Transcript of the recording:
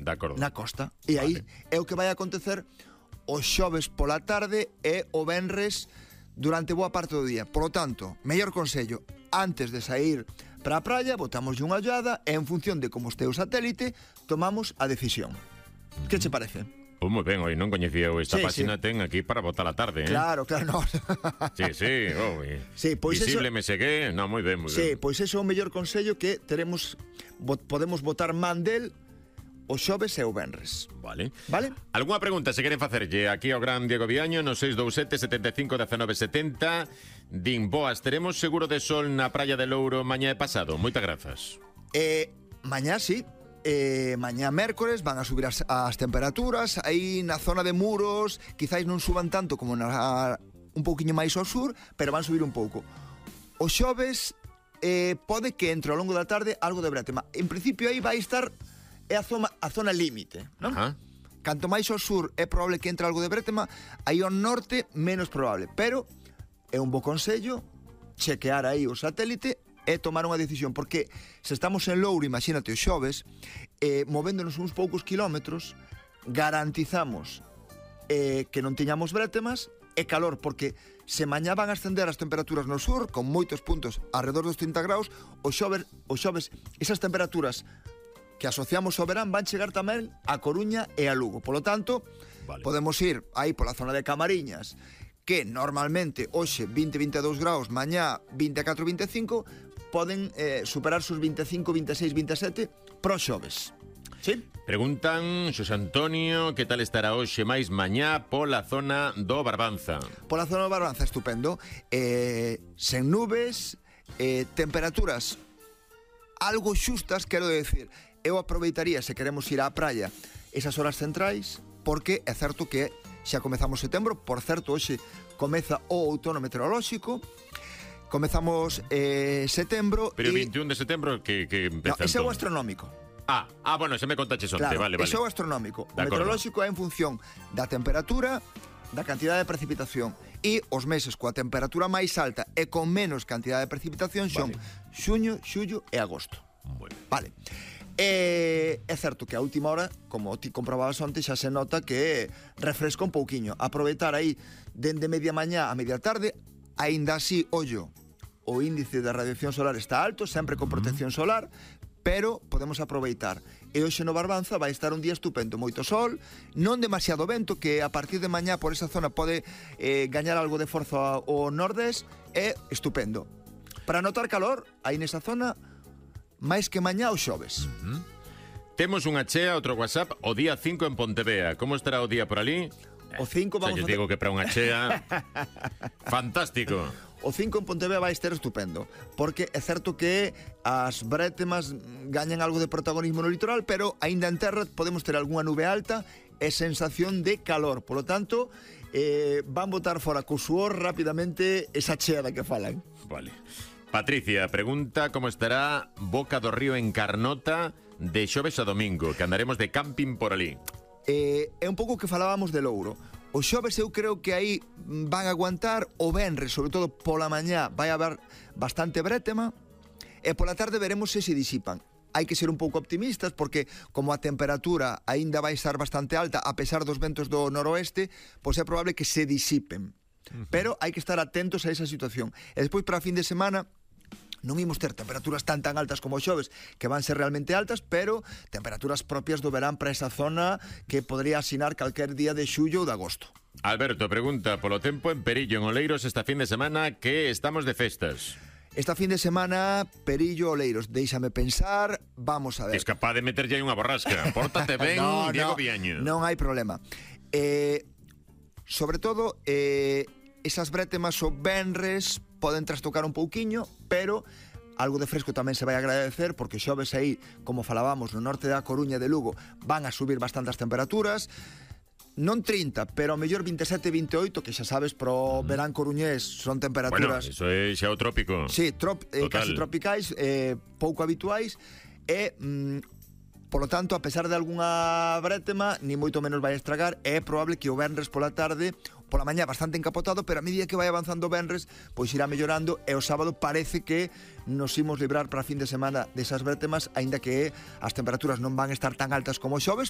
De acordo. na costa. E aí é o que vai acontecer o xoves pola tarde e o venres durante boa parte do día. Por lo tanto, mellor consello, antes de sair para a praia, botamos unha ollada e en función de como este o satélite, tomamos a decisión. Que che parece? Moi ben, hoy non coñecía eu esta Sí, página, ten aquí para botar a tarde, Claro, no. Sí, Sí, pois visible eso- me segue, non, moi ben, moi Sí, ben. pois ese é o mellor consello que podemos botar man del o xoves e o venres. Vale. Vale? Algúa pregunta se queren facerlle aquí ao gran Diego Viaño no 627 75 19 70. Din, boas, teremos seguro de sol na praia de Louro mañá e pasado. Moitas grazas. Mañá sí. Mañá mércores van a subir as temperaturas. Aí na zona de Muros quizáis non suban tanto como un pouquiño máis ao sur, pero van subir un pouco. O xoves pode que entre ao longo da tarde algo de brétema. En principio aí vai estar a zona límite, non? Ajá. Canto máis ao sur é probable que entre algo de brétema, aí ao norte menos probable, pero é un bo consello chequear aí o satélite e tomar unha decisión, porque se estamos en Louro, imagínate o xoves, movéndonos uns poucos kilómetros, garantizamos que non teñamos brétemas e calor, porque se mañá van a ascender as temperaturas no sur, con moitos puntos alrededor dos 30 graus, o xoves esas temperaturas que asociamos ao verán van chegar tamén a Coruña e a Lugo. Polo tanto, podemos ir aí pola zona de Camariñas, que normalmente hoxe 20-22 graus, mañá 24-25, poden superar sus 25, 26, 27 pro xoves. Sí? Preguntan, Xosé Antonio, que tal estará hoxe máis mañá pola zona do Barbanza? Pola zona do Barbanza, estupendo. Sen nubes, temperaturas algo xustas, quero decir. Eu aproveitaría, se queremos ir á praia, esas horas centrais, porque é certo que xa comezamos setembro. Por certo, hoxe comeza o outono meteorolóxico. Comezamos setembro. Pero o 21 de setembro que empeza. No, ese é o entón? astronómico. Bueno, se me contaches onte, Claro, vale. ese é o astronómico. O De acordo. meteorolóxico é en función da temperatura, da cantidade de precipitación, e os meses coa temperatura máis alta e con menos cantidade de precipitación son xuño, xullo e agosto. Bueno. Vale. É certo que a última hora, como ti comprobabas onte, xa se nota que refresca un pouquiño. Aproveitar aí dende media mañá a media tarde, aínda así, ollo, o índice de radiación solar está alto, sempre con protección solar, pero podemos aproveitar. E hoxe no Barbanza vai estar un día estupendo, moito sol, non demasiado vento, que a partir de mañá por esa zona pode gañar algo de forza o nordés, é estupendo. Para notar calor, aí nesa zona, máis que mañá o xoves. Temos unha chea, outro WhatsApp, o día 5 en Pontevea. Como estará o día por ali? O 5 vamos Xa digo que para unha chea fantástico. O 5 en Pontevea vai estar estupendo, porque é certo que as brétemas gañan algo de protagonismo no litoral, pero aínda en terra podemos ter algunha nube alta e sensación de calor. Por lo tanto, van botar fora co suor rapidamente esa chea da que falan. Vale. Patricia pregunta como estará Boca do Río en Carnota de xoves a domingo, que andaremos de camping por ali. É un pouco que falábamos de Louro. O xoves eu creo que aí van a aguantar, o venres, sobre todo pola mañá, vai haber bastante brétema, e pola tarde veremos se disipan. Hai que ser un pouco optimistas, porque como a temperatura aínda vai estar bastante alta, a pesar dos ventos do noroeste, pois é probable que se disipen. Pero hai que estar atentos a esa situación. E despois para a fin de semana non imos ter temperaturas tan altas como o xoves, que van ser realmente altas, pero temperaturas propias do verán para esa zona que podría asinar calquer día de xullo ou de agosto. Alberto pregunta polo tempo en Perillo, en Oleiros, esta fin de semana que estamos de festas. Esta fin de semana, Perillo, Oleiros, déixame pensar, vamos a ver. Es capaz de meterlle aí unha borrasca. Pórtate ben, Diego Viaño. Non hai problema. Sobre todo, esas brétemas o venres poden trastocar un pouquiño, pero algo de fresco tamén se vai agradecer, porque xoves aí, como falábamos, no norte da Coruña e de Lugo, van a subir bastantes temperaturas, non 30, pero ao mellor 27, 28, que xa sabes, pro verán coruñés son temperaturas... Bueno, iso é xa o trópico. Sí, casi tropicais, pouco habituais, e... Polo tanto, a pesar de algunha brétema, ni moito menos vai estragar, é probable que o venres pola tarde, pola mañá bastante encapotado, pero a medida que vai avanzando o venres, pois irá mellorando, e o sábado parece que nos imos librar para a fin de semana desas brétemas, aínda que as temperaturas non van estar tan altas como o xoves,